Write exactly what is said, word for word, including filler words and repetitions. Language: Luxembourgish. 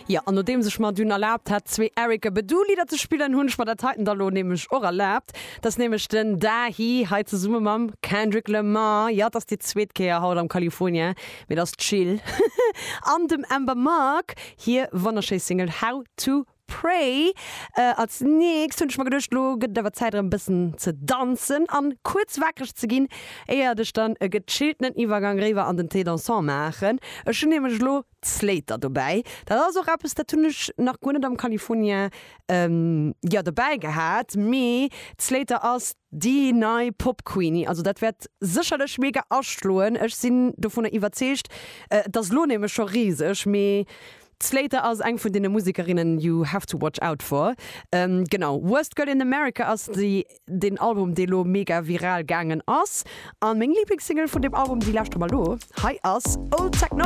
Ja, an nodeems ech mer dunn erlaabt hat, zwee Erykah Badu Lidder ze spillen, hunn ech mer dat heiten da lo nämlech och erlaabt. Dat ass nämlech den Dahi hei zesumme mam Kendrick Lamar. Ja, dat ass déi zweet Kéier haut am California, mee dat ass chill. An dem Amber Mark hir wonnerschéi Single How to Pray. Äh, als nächst hunn ech mer geduecht, lo gëtt et awer Zäit erëm bëssen ze danzen an kuerz wakereg ze ginn, éier ech dann e gechilltenen Iwwergang riwwer an den Thé dansant maachen. Ech hunn nämlech lo d'Slayyyter dobäi. Dat ass och eppes, dat hunn ech nach guer net am California ähm, ja, dobäi gehat, mee d'Slayyyter ass déi nei Pop Queenie. Also dat wäert sécherlech mega aschloen. Ech sinn dovunner iwwerzeegt, äh, dat ass lo nämlech scho riseg, mee d'Slayyyter ass eng vun deene Musekerinnen you have to watch out for. Ähm, genau. Worst Girl in America ass déi, den Album, dee lo mega viral gaangen ass. An meng Liblingssingle vun deem Album, déi lauschtere mer lo. Hei ass Old Technology.